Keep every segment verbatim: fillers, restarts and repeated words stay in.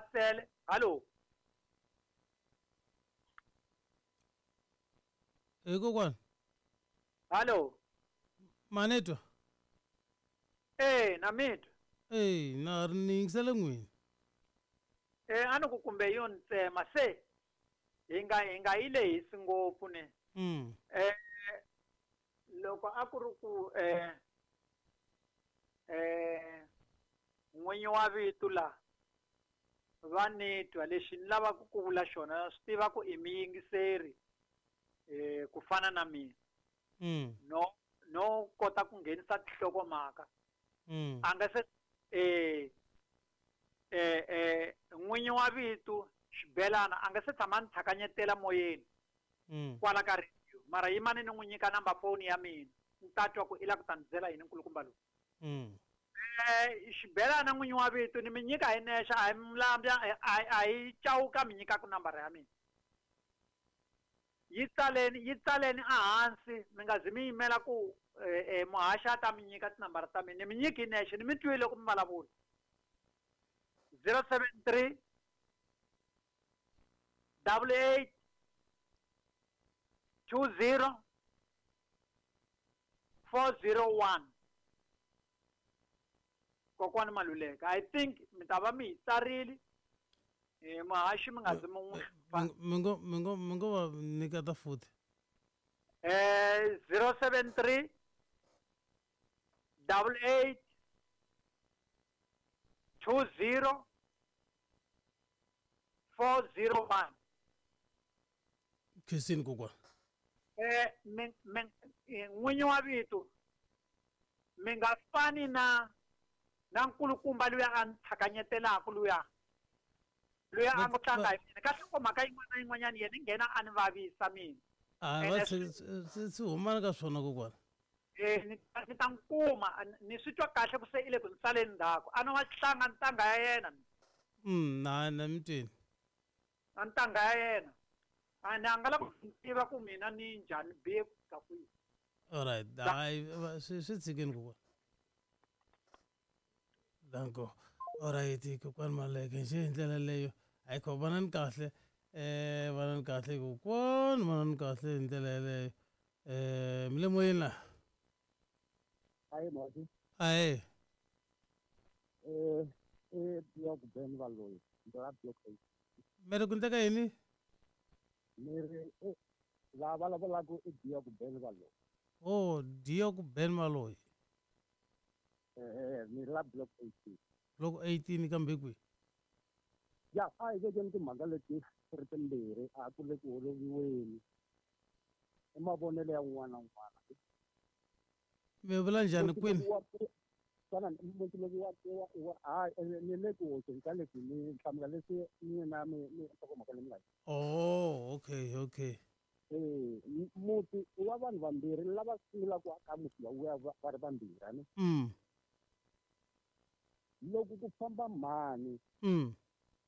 Sele hallo. Eh kokwana. Hallo. Manetwa. Eh na mitwa. Eh na ri ni yingisele n'wini. Eh a ni ku kumbe yo ntsema se hi nga hi nga yi lehisi ngopfu ne. Mm. Eh loko a ku ri ku eh eh n'winyi wa vito la va ni twa lexi ni lavaka ku vula xona swi tiva ku i miyingiseri eh ku fana na mina. Mm. No no kota ku nghenisa tinhlokomhaka. Mm. A nga se eh eh eh n'winyi wa vito Xibelana a nga se tshama ni tlhakanyetela moyeni. Mm. Kwala ka radio mara yimani ni n'wi nyika number phone ya mina ni ta twa ku i lava ku ta ni byela yini nkulukumba lowu. Mm. Eh Xibelana n'winyi wa vito ni mi nyika hi nexe a hi mlambya a hi chauka mi nyikaka nambara ya mina. Yi tsaleni yi tsaleni ehansi mi nga zi mi yimela ku eh muhaxi a ta mi nyika tinambara ta mina ni mi nyiki hi nexe ni mi twile loko mi vulavula. zero seven three double eight two zero four zero one. Kokwani Maluleka I think mi ta va mi yi tsarile eh muhaxi mi nga zi mi n'wi Mi ngo mi ngo mi ngo va nyiketa futhi. Eh zero seven three double eight two zero four zero one. Khensini kokwana. Eh mi mi n'winyi wa vito mi nga fani na na nkulukumba luya a ni tlhakanyetelaka luya luya a ngo tlanga hi mina ka nhlokomhaka yin'wana na yin'wanyana yena i nghena a ni vavisa mina. A va swi swi humana ka swona kokwana. Eh ni ni ta n'wi kuma ni swi twa kahle ku se i le ku ni saleni ndzhaku a no wa tlanga ntanga ya yena. Mm na na mi twini. A ntanga ya yena a ni a nga lava ku tiva ku mina ni njhani bihe ku fika kwihi. All right hayi swi swi tshikeni kokwana. Danko. All right kokwani Maluleke nje hi ndlela leyo hayi kho vonani kahle eh vonani kahle kokwani vonani kahle hi ndlela yeleyo eh mi le moyeni la. Hayi mhasi. Ahe. Eh eh block Ben Valoyi ndzi block eight. Mi ri ku endleka yini? Mi ri la vulavulaka i Diok Ben Valoyi. Oh Diok Ben Valoyi. Eh ni la block eighteen. Block eighteen kambe kwihi? Ya a hi vekeni timhaka leti ri timbirhi a ku le ku holoviweni i mavonelo ya un'wana na un'wana. Mi vula njhani kwini? Xana muti lowu wa wa hayi ni le ku hoxeni ka leswi ni hlamula leswi mina mi mi nhlokomhaka leyi mi nga yi. Oh okay okay. Eh muti wa vanhu vambirhi lava sungulaka ku aka muti wa va ri vambirhi ani. Mm. Loko ku famba mhani mm.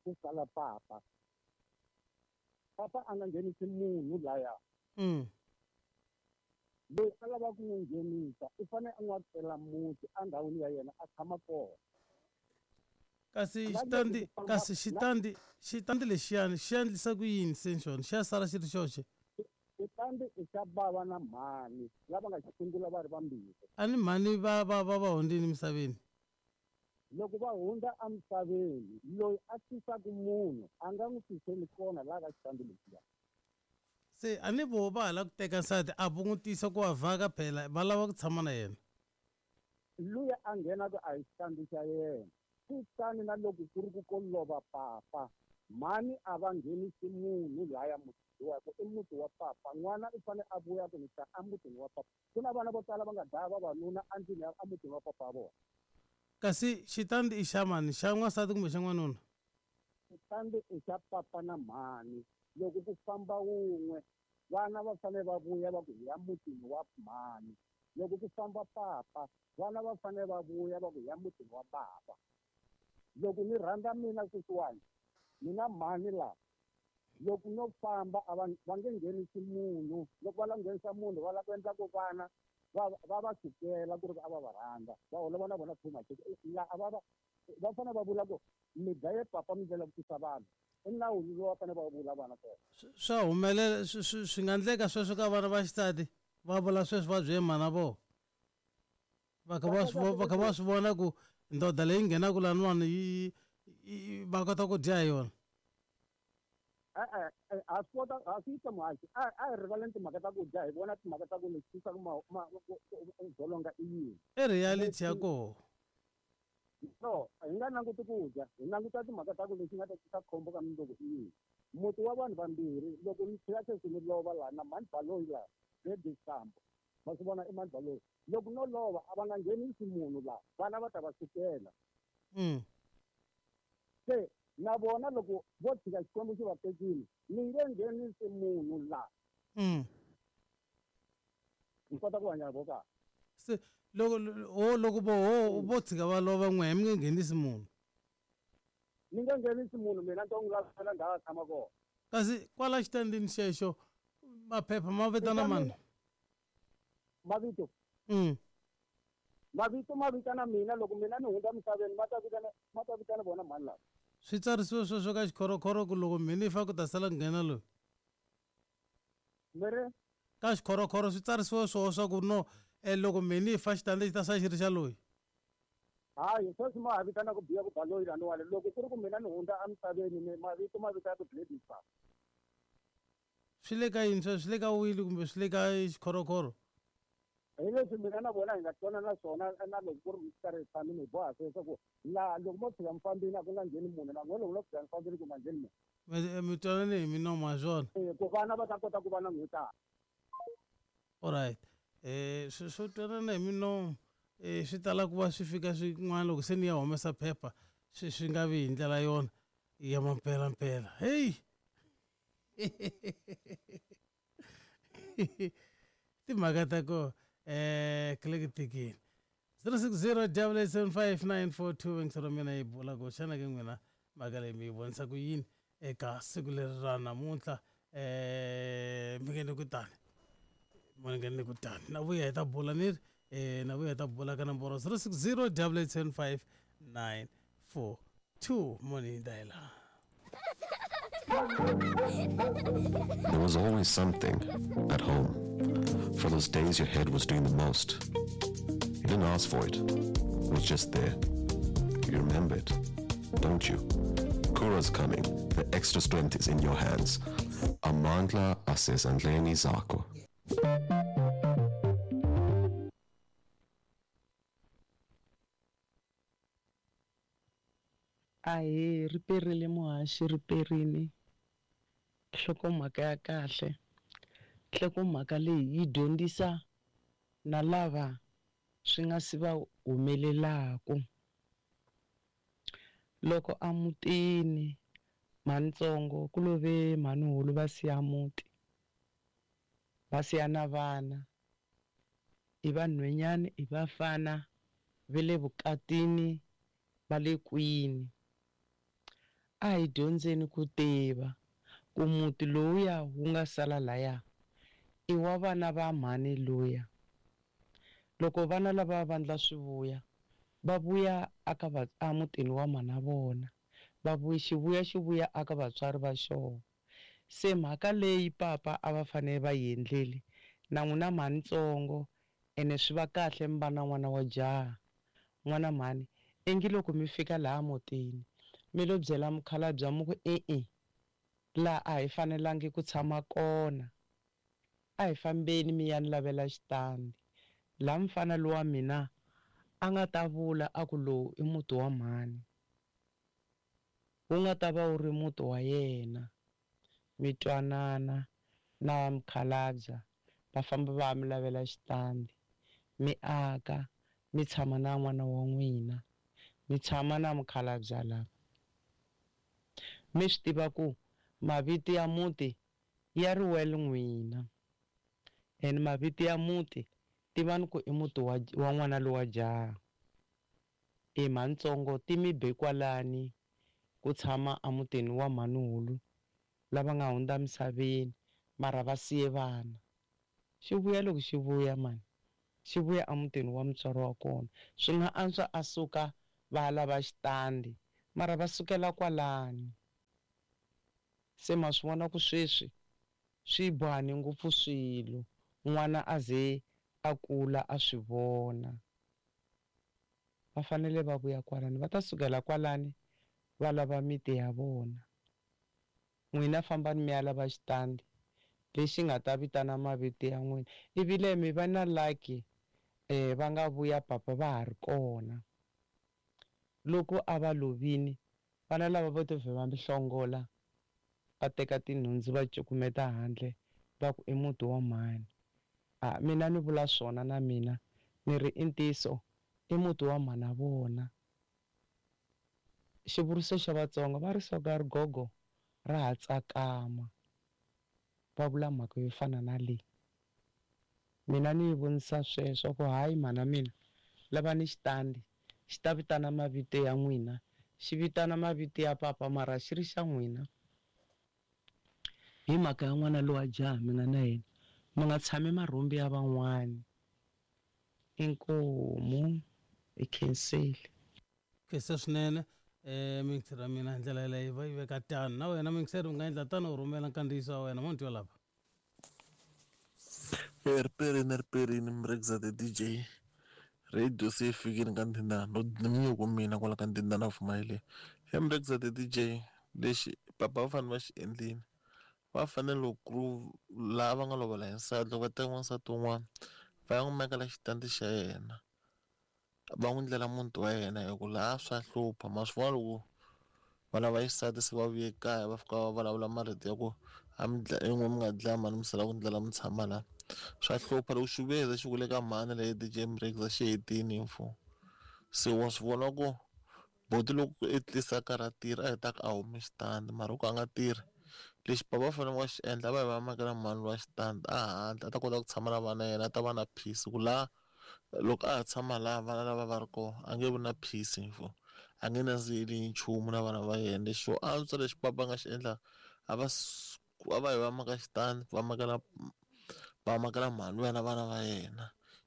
ku sala papa papa a nga nghenisi munhu laya. Mm. Loyi a lavaka ku n'wi nghenisa i fanele a n'wi akela muti endhawini ya yena a tshama kona. Kasi xitandi kasi xitandi xitandi lexiyani xi endlisa ku yini se xona xi ya sala xi ri xoxe? Xitandi i xa bava na mhani lava nga xi sungula va ri vambirhi. A ni mhani va va va va hundzile emisaveni? Loko va hundza emisaveni loyi a tisaka munhu a nga n'wi tiseli kona laha ka xitandi lexiya. Se a ni vo va hala ku teka nsati a vo n'wi tisa ku va vhaka phela va lava ku tshama na yena. Luya a nghenaka a hi xitandi xa yena. Kutani na loko ku ri ku ko lova papa mhani a va nghenisi munhu laya muti wa ku i muti wa papa n'wana i fanele a vuya ku ni ta emutini wa papa. Ku na vana vo tala va nga dlaya vavanuna endlwini ya emutini wa papa wa vona. Kasi xitandi i xa mani xa n'wansati kumbe xa n'wanuna? Xitandi i xa papa na mhani. Loko ku famba wun'we vana va fanele va vuya va ku hi ya mutini wa mhani. Loko ku famba papa vana va fanele va vuya va ku hi ya mutini wa bava. Loko ni rhandza mina sweswiwani mina mhani laha loko no famba a va va nge nghenisi munhu loko va lava nghenisa munhu va lava ku endla ku vana va va va sukela ku ri a va va rhandza va holova na vona too much la a va va Va fanele va vula ku mi dlaye papa mi ndlela ku tisa vanhu. I nawu lowu va fanele va vula vana kona. Swa humelela swi nga endleka sweswo ka vana va xisati va vula sweswo va byele mhana vona. Va kha va swi va kha va swi vona ku ndoda leyi nghenaka laniwani yi va kota ku dya hi yona. E-e a swi kota a swi yisa muhaxi a a hi rivaleni timhaka ta ku dya hi vona timhaka ta ku lexi tisaka dzolonga i yini. I reality ya koho. No, hi nga languti ku dya hi languta timhaka ta ku lexi nga ta tisa khombo ka mundzuku i yini. Muti wa vanhu vambirhi loko ni tlhela sweswi ni lova laha na mhani Baloyi laha Gladys Sambo va swi vona i mhani Baloyi loko no lova a va nga nghenisi munhu laha vana va ta va sukela. Se na vona loko vo tshika Xikwembu xi va tekile ni nge nghenisi munhu laha. Ni kota ku hanya vo kahle. Se loko ho loko vo ho vo tshika va lova n'we mi nge nghenisi munhu. Ni nge nghenisi munhu mina ni to n'wi lavela ndhawu a tshama kona. Kasi kwala xitandini xexo maphepha ma vitana mani? Mavito. Mm. Mavito ma vitana mina loko mina ni hundza misaveni ma ta vitana ma ta vitana vona mhani lava. Swi tsarisiwe sweswo ka xikhorokhoro ku loko mhani fa ku ta sala ku nghena loyi. Mi ri? Ka xikhorokhoro swi tsarisiwe swoho swa ku no eh loko mhani fa xitandi xi ta sala xi ri xa loyi. Hayi sweswi ma ha vitana ku biya ku Baloyi laniwani loko ku ri ku mina ni hundza emisaveni ni mavito ma vitana ku Gladys Sambo. Swi le ka yini sweswo swi le ka wili kumbe swi le ka xikhorokhoro? Hi leswi mina na vona hi nga twanana swona na loko ku ri mi karhi hi tshamile hi boha sweswo ku laha loko mo tshika mi fambile a ku nga ngheni munhu na n'we loko no tshika mi fambile ku nga ngheni munhu. Mi twanane hi minomo ha swona. Ku vana va ta kota ku va na n'hwetana. Alright. Eh swo swo twanana hi minomo eh swi tala ku va swi fika swin'wana loko se ni ya humesa phepha swi swi nga vi hi ndlela yona ya mampelampela. Hey. Timhaka ta ko eh click zero six zero double eight seven five nine four two ngisero mina yi bula ku xana ke n'wina mhaka leyi mi yi vonisa ku yini eka siku leri ra namuntlha eh mi nge ni ku tani mi nge ni ku tani na vuya hi ta bula ni ri eh na vuya hi ta bula ka nomboro zero six zero double eight seven five nine four two moni dayela. There was always something at home. For those days your head was doing the most. You didn't ask for it. It was just there. You remember it, don't you? Kura's coming. The extra strength is in your hands. Amandla asezandleni zakho. Ahe ri perile muhaxi ri perini. Nhlokomhaka ya kahle. Nhlokomhaka leyi yi dyondzisa na lava swi nga si va humelelaku. Loko a mutini mhanitsongo ku love mhanihulu va siya muti va siya na vana i vanhwanyana i vafana va le vukatini va le kwini. A hi dyondzeni ku tiva ku muti lowuya wu nga sala laya i wa vana va mhani luya. Loko vana lava vandla swi vuya va vuya aka va emutini wa mhana vona va vuya xivuya xi vuya aka vatswari va xona. Se mhaka leyi papa a va fanele va yi endlile na n'wina mhanitsongo ene swi va kahle mi va na n'wana wa jaha n'wana mhani ingi loko mi fika laha mutini mi lo byela mukhalabye mi ku e-e laha a hi fanelangi ku tshama kona a hi fambeni mi ya ni lavela xitandi laha mfana lowa mina a nga ta vula a ku lowu i muti wa mhani wu nga ta va wu ri muti wa yena. Mi twanana na mukhalabye va famba va ya mi lavela xitandi mi aka mi tshama na n'wana wa n'wina mi tshama na mukhalabye lava. Mi swi tiva ku mavito ya muti ya ri wele n'wina ene mavito ya muti tivani ku i muti wa wa n'wana lowa jaha. I mhanitsongo ti mi be kwalani ku tshama emutini wa mhanihulu lava nga hundza misaveni mara va siye vana. Xi vuya loko xi vuya mani xi vuya emutini wa mutswari wa kona swi nga antswa a suka Va lava xitandi mara va sukela kwalani. Se ma swi vona ku sweswi swi bohane ngopfu swilo, n'wana a ze a kula a swi vona. Va fanele va vuya kwalani, va ta sukela kwalani va lava miti ya vona. N'wina fambani mi ya lava xitandi lexi nga ta vitana mavito ya n'wina. Ivile mi va na lucky eh va nga vuya papa va ha ri kona. Loko a va lovini vana lava vo to vhe va mi hlongola, va teka tinhundzu va cukumeta handle va ku i muti wa mhani. A mina ni vula swona na mina ni ri i ntiyiso, i muti wa mhana vona. Xivuriso xa Vatsonga va ri soka rigogo ra ha tsakama, va vula mhaka yo fana na leyi. Mina ni yi vonisa sweswo ku hayi mhana mina lavani xitandi xi ta vitana mavito ya n'wina, xi vitana mavito ya papa mara xi ri xa n'wina. Hi mhaka ya n'wana lowa jaha mi nga na yena, mi nga tshami marhumbi ya van'wani. Inkomu i khensile. Khensa swinene eh mingiseri ra mina hi ndlela yeleyo va yi veka tano. Na wena mingiseri u nga endla tano u rhumela nkandziyiso wa wena mo twa lapha. Riperini riperini Mrekza the D J radio se fikile ka ndhindana no nyuku mina kwala ka ndhindana pfumayile. He Mrekza the D J lexi papa va fanele va xi endlile, va fanele ku laha va nga lovola hi nsati loko va teka n'wansati un'wana va ya n'wi mekela xitandi xa yena, va n'wi ndlela muti wa yena hi ku laha swa hlupha. Ma swi vona loko vana va xisati se va vuye kaya va fika va vulavula marito ya ku a mi dlaya yin'we mi nga dlaya mhani mi sala ku ndlela mi tshama laha, swa hlupha. Loko xi vuye xi ku le ka mhani leyi D J Mrekza xi hetini mfo. Se wa swi vona ku boti loko i tlisa karhi a tirha a hetaka a humi xitandi mara loko a nga tirhi lexi papa va fanele va xi endla va hi va makela mhani wa xitandi a handle a ta kota ku tshama na vana yena, a ta va na peace ku laha loko a ha tshama laha vana lava va ri kona a nge vi na peace mfo, a nge nandziheli nchumu na vana va yena. Lexi xo antswa lexi papa a nga xi endla a va a va hi va maka xitandi va makela va makela mhani luya na vana va yena,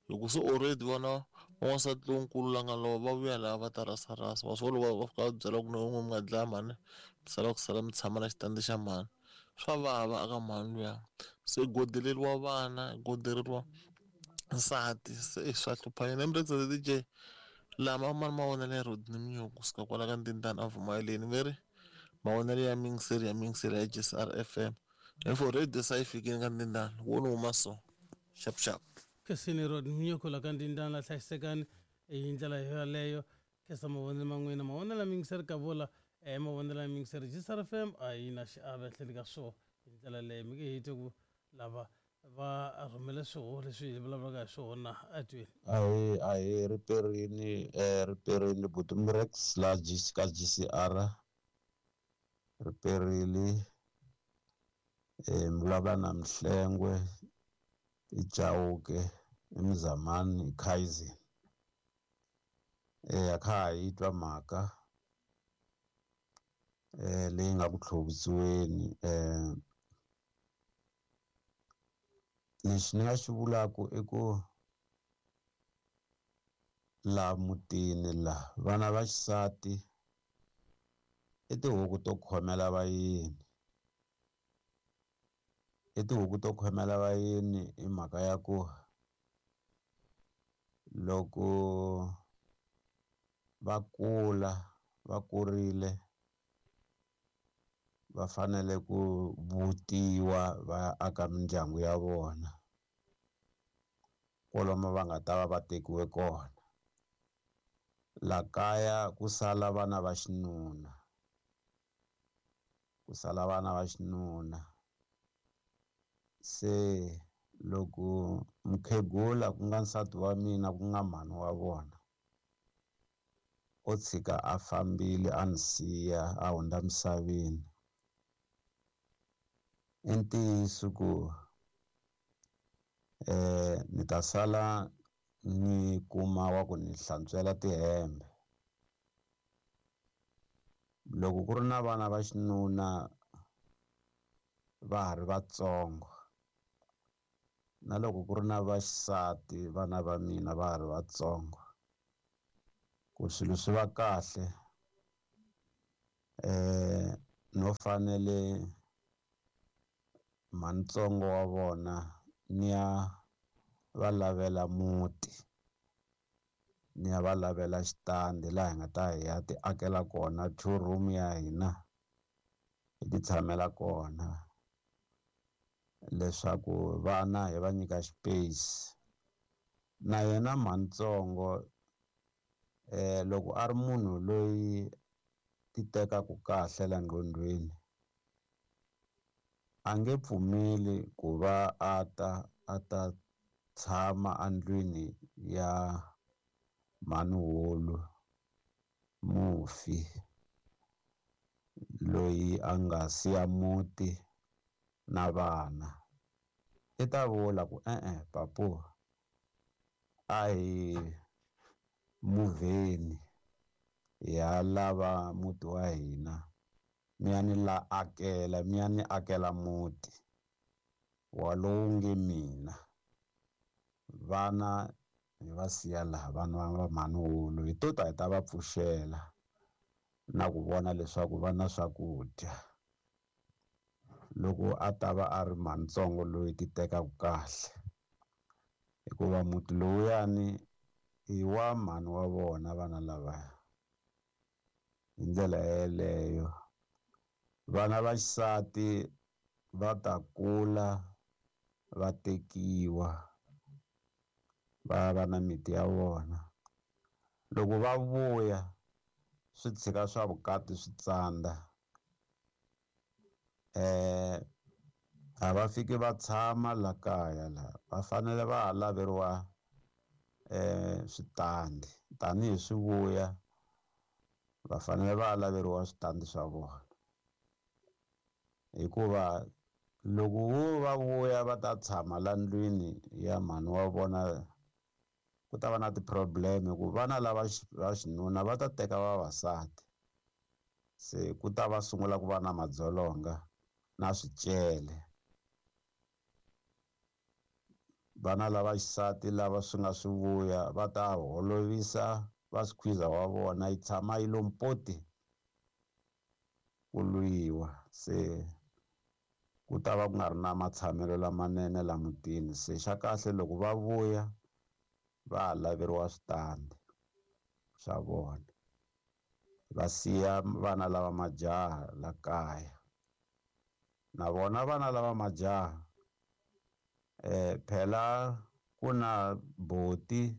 hi ku se already vona n'wansati lonkulu la nga lova va vuya laha va ta rasarasa. Wa swi vona loko va fika va byela ku no n'we mi nga dlaya mhani mi sala ku sala mi tshama na xitandi xa mhani, swa vava aka mhani luya. Se godeleriwa vana, godeleriwa nsati, se swa hlupha yena. Mrekza the D J lama mani mavonelo ya Rodney Mnyuku kusuka kwala ka ndhindana a Vumayeleni ve ri mavonelo ya mingiseri ya mingiseri ya G C R F M info radio sa yi fikile ka ndhindana wo ni huma so xap xap. Khensini Rodney Mnyuku la ka ndhindana la hlayisekani hi ndlela yaleyo. Khensa mavonelo ma n'wina, mavonelo ya mingiseri ka vula eh mavonelo ya mingiseri G C R F M a yi na xiave etlhelo ka swona hi ndlela leyo. Mi nge hi twi ku lava va rhumele swihoxo leswi hi vulavulaka hi swona a twini. Ahee ahee riperini eh riperini buti Mrex la G ka G C R riperile eh mi vulavula na Mhlengwe i Chauke i Mzamani i Kaizen. Eh a kha ha yi twa mhaka eh leyi nga ku tlhovitsiweni. Eh lexi ni nga xi vulaka i ku laha mutini laha vana va xisati i tihuku to khomela vayeni, i tihuku to khomela vayeni hi mhaka ya ku loko va kula va kurile va fanele ku vutiwa va aka mindyangu ya vona kwalomu va nga ta va va tekiwe kona. La kaya ku sala vana va xinuna, ku sala vana va xinuna. Se loko mukhegula ku nga nsati wa mina ku nga mhani wa vona o tshika a fambile a ni siya a hundza misaveni, i ntiyiso ku eh ni ta sala ni kuma wa ku ni hlantswela tihembe. Loko ku ri na vana va xinuna va ha ri vatsongo na loko ku ri na vaxisati vana va mina va ha ri vatsongo, Ku swilo swi va kahle eh no fanele mantsongo wa vona ni ya va lavela muti, ni ya va lavela xitandi laha hi nga ta hi ya ti akela kona two room ya hina hi ti tshamela kona, leswaku vana hi va nyika space. Na yena mantsongo eh loko a ri munhu loyi ti tekaka kahle la nqondweni a nge pfumeli ku va a ta a ta tshama andlwini ya mhanihulu mufi loyi a nga siya muti na vana. I ta vula ku e-e papu a hi muvheni hi ya lava muti wa hina, mi ya ni la akela mi ya ni akela muti wa lowu nge mina, vana hi va siya laha vana va mhanihulu hi to ta hi ta va pfuxela na ku vona leswaku va na swakudya. Loko a ta va a ri mantsongo loyi ti tekaka kahle, hikuva muti lowuyani i wa mhani wa vona vana lavaya. Hi ndlela yeleyo vana va xisati va ta kula va tekiwa va va na miti ya vona. Loko va vuya swi tshika swa vukati swi tsandza, eh a va fiki va tshama la kaya la, va fanele va ha laveriwa eh switandi tanihi swi vuya, va fanele va ha laveriwa switandi swa vona, hikuva loko vo va vuya va ta tshama la ndlwini ya mhani wa vona ku ta va na ti-problem, ku vana lava va xinuna va ta teka vavasati, se ku ta va sungula ku va na madzolonga na swicele. Vana lava xisati lava swi nga swi vuya va ta holovisa va swikhwiza wa vona, yi tshama yi lo mpoti ku lwiwa, se ku ta va ku nga ri na matshamelo lamanene la mutini. Se xa kahle loko va vuya va ha laveriwa switandi swa vona, va siya vana lava majaha la kaya. Na vona vana lava majaha eh phela ku na boti,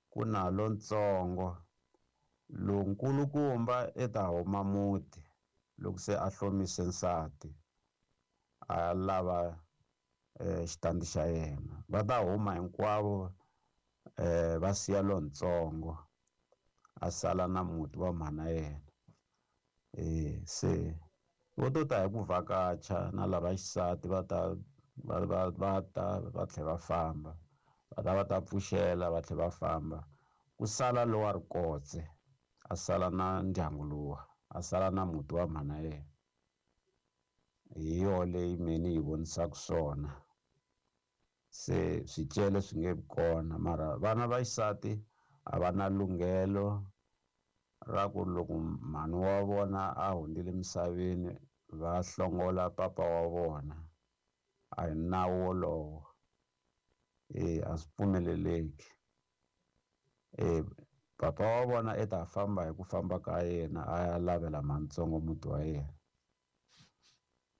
ku na lontsongo, lonkulukumba i ta huma muti loko se a hlomise nsati a lava eh xitandi xa yena, va ta huma hinkwavo eh va siya lontsongo a sala na muti wa mhana yena. Eh se vo to ta hi ku vhakacha na lava xisati va ta va va va ta va tlhela va famba, va ta va ta pfuxela va tlhela va famba, ku sala lowa rikotse a sala na ndyangu luwa, a sala na muti wa mhana yena. Hi yo leyi mina yi vonisaka swona. Se swicele swi nge vi kona, mara vana va xisati a va na lunghelo ra ku loko mhani wa vona a hundzile emisaveni va hlongola papa wa vona. A hi nawu wolowo, e a swi pfumeleleki. E papa wa vona i ta famba hi ku famba ka yena a ya lavela mantsongo muti wa yena.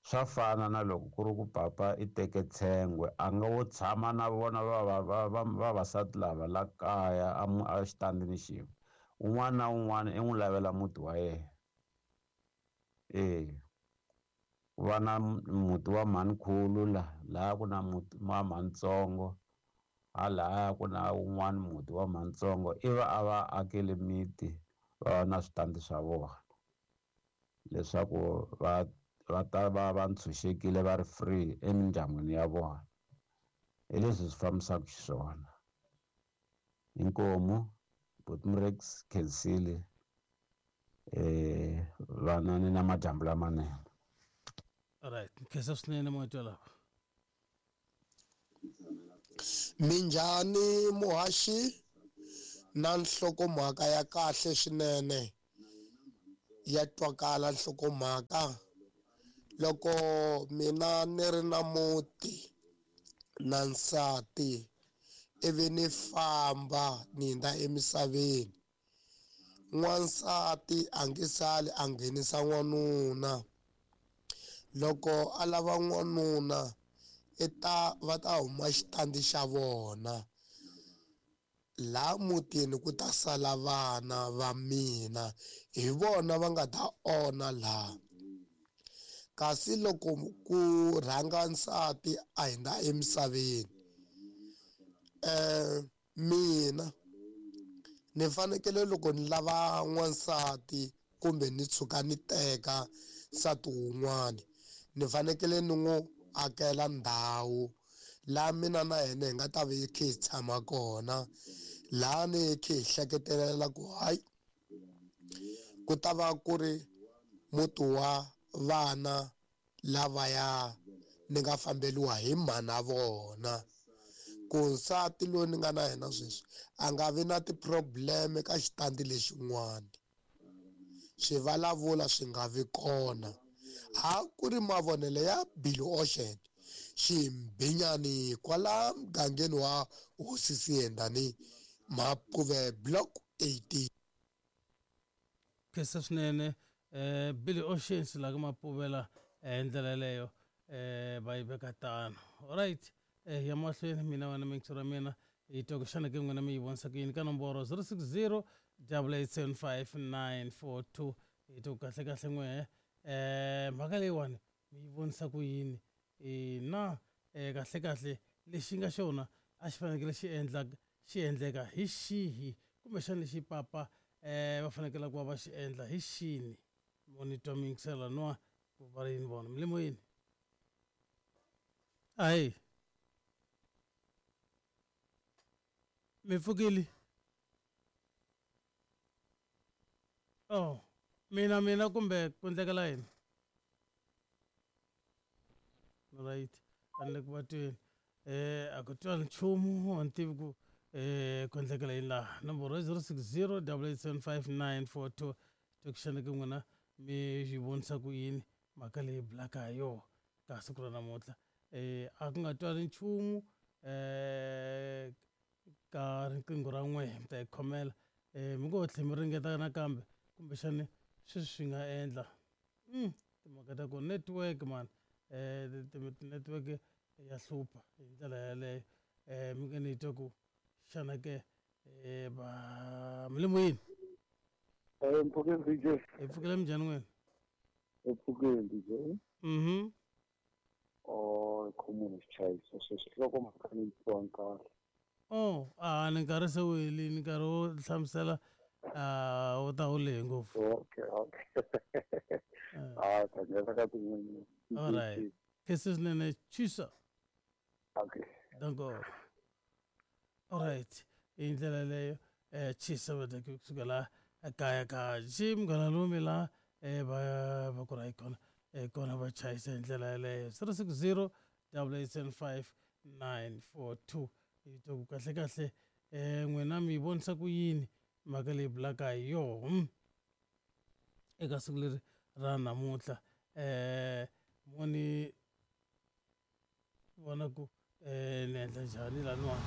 Swa fana na loko ku ri ku papa i teke tshengwe, a nga wo tshama na vona va va va vavasati lava la kaya a a xitandini xin'we, un'wana na un'wana i n'wi lavela muti wa yena. E ku va na muti wa mhanikhulu la laha ku na muti wa mhanitsongo, halahaya ku na un'wana muti wa mhanitsongo, i va a va akele miti va va na switandi swa vona leswaku va va ta va va ntshunxekile va ri free emindyangwini ya vona. Hi leswi swi fambisaka xiswona. Inkomu Botmrex Khensile, eh vanani na madyambu lamanene. Alright, khensa swinene moya lava. Minjhani muhaxi? Na nhlokomhaka ya kahle swinene ya twakala nhlokomhaka. Loko mina ni ri na muti na nsati ivi ni famba ni hundza emisaveni, n'wansati a nge sali a nghenisa n'wanuna. Loko a lava n'wanuna i ta va ta huma xitandi xa vona, laha mutini ku ta sala vana va mina, hi vona va nga ta onha laha. Kasi loko ku rhanga nsati a hundza emisaveni, eh mina ni fanekele loko ni lava n'wansati kumbe ni tshuka ni teka nsati wun'wani, ni fanekele ni n'wi akela ndhawu laha mina na yena hi nga ta va hi kha hi tshama kona, laha ni hi kha hi hleketelela ku hayi ku ta va ku ri muti wa vana lavaya ni nga fambeliwa hi mhana vona. Ku nsati loyi ni nga na yena sweswi a nga vi na ti-problem ka xitandi lexin'wana, swivulavula swi nga vi kona. Ha ku ri mavonelo ya Billy Ocean Ximbinyani kwala mugangeni wa Hosi Siyendani Mapuve Block eighteen. Khensa swinene eh Billy Ocean la ka Mapuvela hi ndlela yeleyo eh va yi veka tano. Alright, eh ya mahlweni mina wena mixo ra mina hi twa ku xana ke n'wina mi yi vonisa ku yini ka nomboro zero six zero double eight seven five nine four two. Hi twa ku kahle kahle n'we eh mhaka leyiwani mi yi vonisa ku yini na eh kahle kahle lexi nga xona a xi fanekele xi endla xi endleka hi xihi kumbexana lexi papa eh va fanekele ku va va xi endla hi xini. Monitor mixela nwa ku va yini vona mi le moyeni. Ayi mi pfukile? Oh mina mina kumbe ku endlekela yini? Right, a ni le ku va tweni eh a ku twali nchumu, a ni tivi ku eh ku endlekela yini laha. Nomboro zero six zero double eight seven five nine four two. Twekixana ke n'wina mi yi vonisa ku yini mhaka leyi bulaka ha yona ka siku ra namuntlha. Eh a ku nga twali nchumu eh ka riqingho ra n'we mi ta yi khomela eh mi ngo tlhe mi ringeta nakambe kumbexani sweswi swi nga endla timhaka ta ku network man eh network ya hlupha hi ndlela yeleyo. Eh mi nge ni twa ku xana ke eh va mi le moyeni? Eh mpfukeni D J. Hi pfukile minjhani n'wina? Hi pfukile D J. Mhm. Oh khomuni xichayiso sweswi loko mhaka ni twa kahle. Oh a ni nkarhi se wu helini, nkarhi wo hlamusela a wu ta wu lehe ngopfu. Okay okay. Ah ta nghena ka tin'wini. Alright. Khensa swinene Chisa. Okay. Danko. Alright. Hi ndlela yeleyo eh Chisa va ta kusuka la kaya ka Jim Munghana la eh va va ku ra kona eh kona va chayisa hi ndlela yeleyo zero six zero double eight seven five nine four two. Hi twa ku kahle kahle eh n'wina mi yi vonisa ku yini mhaka leyi bulaka hi yona eka siku leri ra namuntlha. Eh moni vona ku eh ni endla njhani laniwani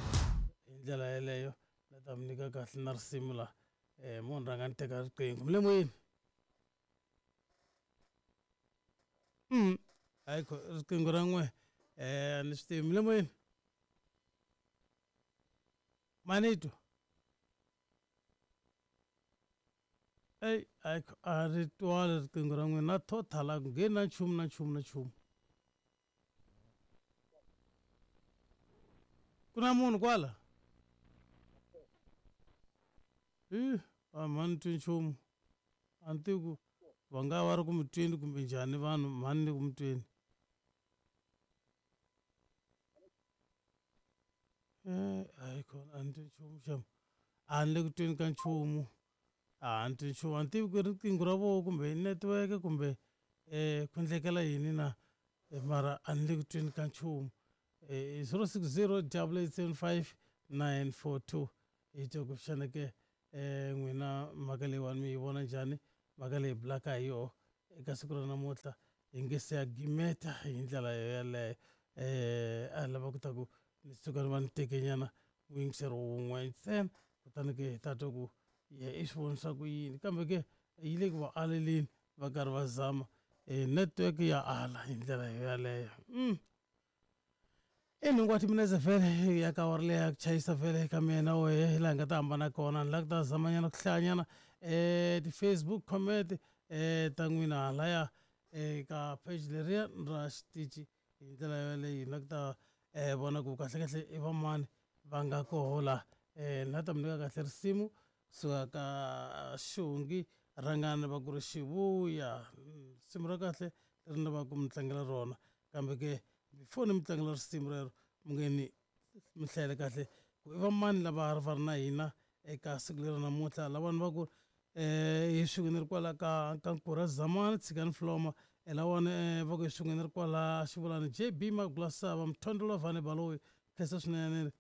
hi ndlela yeleyo na ta mi nyika kahle na risimu la eh munhu rhanga ni teka riqingho. Mi le moyeni? Mm hayi riqingho ra n'we eh a ni swi tivi. Mi le moyeni? Manito ey hayi a ri twali riqingho ra n'wina na total a ku ngheni na nchumu na nchumu na nchumu. Ku na munhu kwala? I a mhani twi nchumu, a ni tivi ku va nga va ri ku mi tweni kumbe njhani vanhu mhani ni ku mi tweni. Eh hayi khona a ni twi nchumu xam, a ni le ku tweni ka nchumu, a ni twi nchumu, a ni tivi ku riqingho ra voho kumbe network kumbe eh ku endlekela yini na mara a ni le ku tweni ka nchumu. Eh zero six zero double eight seven five nine four two. hi twa ku xana ke um n'wina mhaka leyiwani mi yi vona njhani, mhaka leyi bulaka hi yoho eka siku ra namuntlha hi nge se ya gimeta hi ndlela yeleyo. Um a hi lava ku ta ku ni suka ni va ni tekenyana muyingiseri wun'we ntsena, kutani ke hi ta twa ku ye i swi vonisa ku yini, kambe ke yi le ku va aleleni va karhi va zama um network ya ala hi ndlela yeleyo. Mm. I nhungu wa timinetse vhele ya ka awara leyi ya ku chayisa vhele ka mina wehe hi laha hi nga ta hambana kona. Ni lava ku ta zamanyana ku hlayanyana um ti-Facebook comment um ta n'wina halaya eka page leriya ra xitichi hi ndlela yaleyo. Ni lava ku ta um vona ku kahlekahle i va mani va nga koho la. Um ni la ta mi nyika kahle risimu kusuka ka Xongi Rhangani va ku ri Xivuya, risimu ra kahle leri ni lavaka ku mi tlangela rona, kambe ke before ni mi tlangela risimu rero mi nge ni mi hlayele kahle ku i va mani lava va ri na hina eka siku leri namuntlha. Lavani va ku um hi swin'we ni ri kwala ka ka Nkura Zamani Tshikani Floma, lawani va ku hi swin'we ni ri kwala Xivulani J B Magulasava Mthondolo Vhane Baloyi, khensa swinene.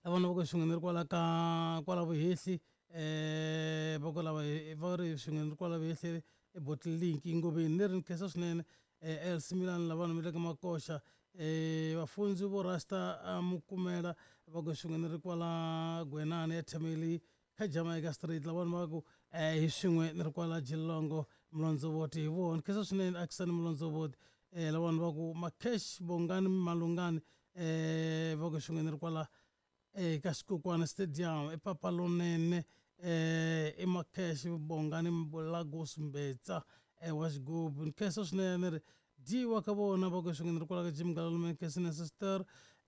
Lavana va ku hi swin'we ni ri kwala ka kwala Vuhehli um va ku lava va ri swin'we ni ri kwala Vuhehli i Bottle Link Ngoveni, ni ri ni khensa swinene. El Similani lavana mi le ka Makoxa, um vafundzi vo Rasta Mukumela va ku swin'we ni ri kwala Gwenani ya Thameli kha Jamaica Street, lavana va ku um hi swin'we ni ri kwala Jilongo Mulondzovoti hi vona, khensa swinene Akisani Mulondzovoti. Um lavana va ku Makesh Bongani Malungani um va ku swin'we ni ri kwala eka Xikukwana Stadium i Papa Lonene um i Makesh Bongani Lagos Mbetsa wa xigubu, ni khensa swinene. Ni ri dyiwa ka vona va ku swin'we ni ri kwala ka Jim Galalume, khensa sister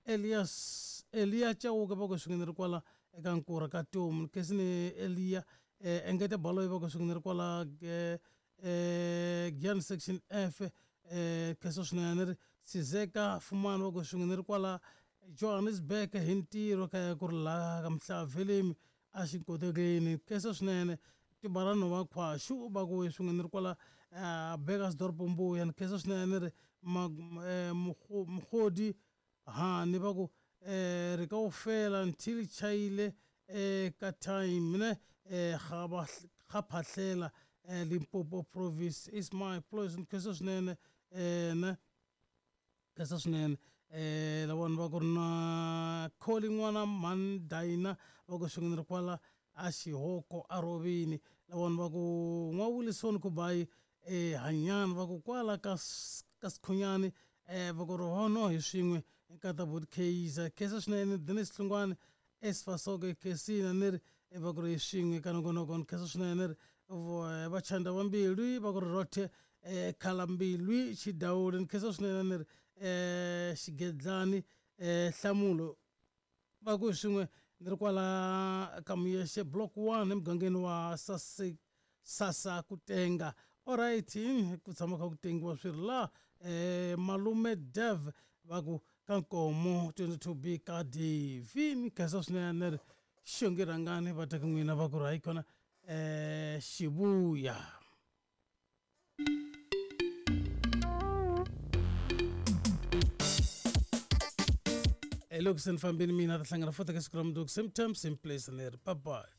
Elias Elia Chauke va ku swin'we ni ri kwala eka Nkura ka Tomu, ni khensa ni Elia Engete Baloyi va ku swin'we ni ri kwala Giyani section F, khensa swinene. Ni ri Sizeka Fumani va ku swin'we ni ri kwala Johannesburg hi ntirho kaya ku ri laha ka Mhlavelemi a xikotekeni, khensa swinene. Tibarano va Khwaxu va ku swin'we ni ri kwala Burgersdorp Mbuya, ni khensa swinene. Ni ri Mugodi Hani va ku um ri kaofela until chayile um ka time ne um ga phahlela Limpopo province is my place, ni khensa swinene ne khensa swinene. Um lavona va ku ri na Kholi n'wana Mhani Dayina va ku swin'we ni ri kwala a Xihoko a Rovini, lavona va ku N'wa Wilson Kubayi um Hanyani va ku kwala ka ka Sikhunyani um va ku ri hono hi swin'we nkata Bot Kaizer, khensa swinene. Dennis Hlungwane Esfasoke Khensina ni ri va ku ri hi swin'we ka nongonoko, ni khensa swinene. Ni ri Vachanda va Mbilwi va ku ri Rothe um Khalambilwi Xidawuli, ni khensa swinene. Ni ri um Xigedlani um Hlamulo va ku hi swin'we ni ri kwala ka Muyexe block one emugangeni wa Sase Sasa Kutenga. Alright, ku tshama kha ku tengiwa swi ri la. um Malume Dev va ku ka Nkomo twenty-two B ka Devi, ni khensa swinene. Ni ri Xongi Rhangani va ta ka n'wina va ku ri hayi kona um Xivuya. Loko se ni fambini mina ta hlangana futhi ka siku ra mundzuku, same time same place, ni ri bye bye.